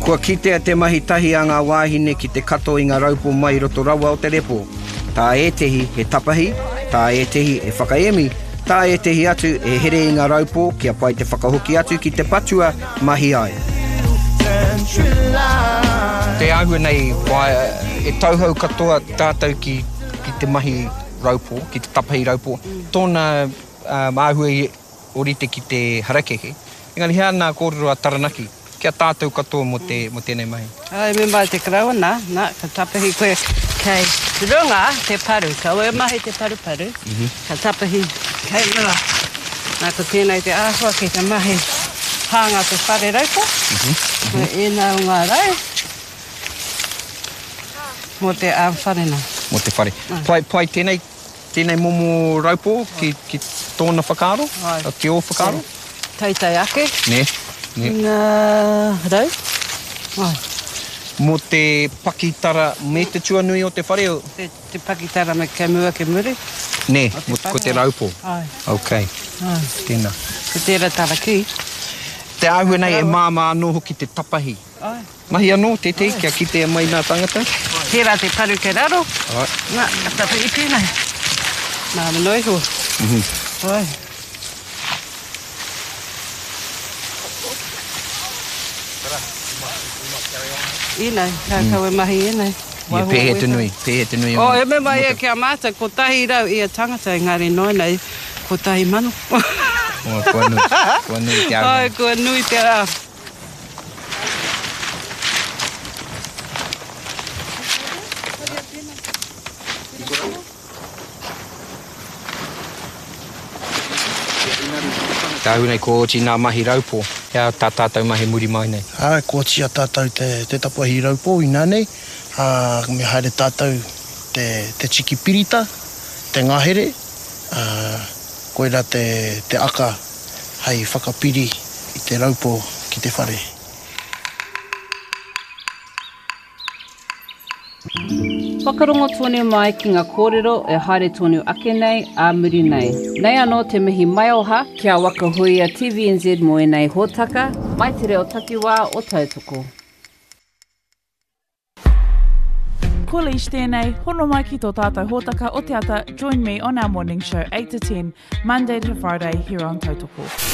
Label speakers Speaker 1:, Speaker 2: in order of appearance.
Speaker 1: Kua kitea te mahi tahi a ngā wāhine ki te kato i ngā raupō mai i roto rawa o te repo. Tā ētehi he tapahi, tā ētehi he whakaemi, tā ētehi atu he here i ngā raupō kia pai te whakahoki atu ki te patua mahi ai. Te āhua nei, e tauhou katoa tātou ki te mahi raupō, ki te tapahi raupō. Tōna āhua i ōrite ki te harakeke. Engari he aha nā kōrero a Taranaki ki a tātou katoa mō te, mō tēnei mahi?
Speaker 2: Āe, me mai te karaua, nā, nā, ka tapahi koe kei runga te paru, kaua e mahi te paruparu, ka tapahi kei runga. Nā, ko tēnei te āhua ki te mahi hānga te whare raupa, ko ēnā o ngā rau mō te whare nā.
Speaker 1: Mō te whare. Pai, pai tēnei Tēnei momo raupō ki, ki tōna whakaaro, ki ō whakaaro?
Speaker 2: Teitei ake.
Speaker 1: Nē, nē.
Speaker 2: I ngā rau. Ai.
Speaker 1: Mō te pakitara me te tuanui o te whare?
Speaker 2: Te, te pakitara me kei mua ki muri.
Speaker 1: Nē, mō, ko te raupō.
Speaker 2: Ai.
Speaker 1: Ok.
Speaker 2: Ai.
Speaker 1: Tēnā.
Speaker 2: Ko tērā tarakī.
Speaker 1: Te āhua nei e māmā anō hoki te tapahi.
Speaker 2: Ai.
Speaker 1: Mahi anō tētehi kia kitea mai nā tangata.
Speaker 2: Tērā te paru kei raro.
Speaker 1: Āe.
Speaker 2: Nā, ka tapu i tēnei. Māma noa iho. Āe. Ēnei, ka kaua mahi ēnei.
Speaker 1: Ia, pēhea te nui, pēhea te nui o.
Speaker 2: Oh, e mea mai ia ki a mātou, 100 ia tangata, engari noa nei, 1000.
Speaker 1: Oh, kua nui, kua nui te āhua.
Speaker 2: Āe, kua nui te āhua.
Speaker 1: Tāu nei kua oti nā mahi raupō, he aha tā tātou mahi muri mai nei?
Speaker 3: Āe, kua oti a tātou te, te tapahi raupō inānei, ā, me haere tātou te, te tiki pirita, te ngahere, ā, koirā te, te aka hei whakapiri i te raupo ki te whare.
Speaker 4: Whakarongo tonu mai ki nga kōrero e haere tonu ake nei ā muri nei. Nei anō te mihi maioha ki a Waka Huia TVNZ mō ēnei hōtaka, mai te reo takiwā o Tautoko.
Speaker 5: Ko Leish tēnei, hono mai ki tō tātou hōtaka o te ata, join me on our morning show 8 to 10, Monday to Friday here on Tautoko.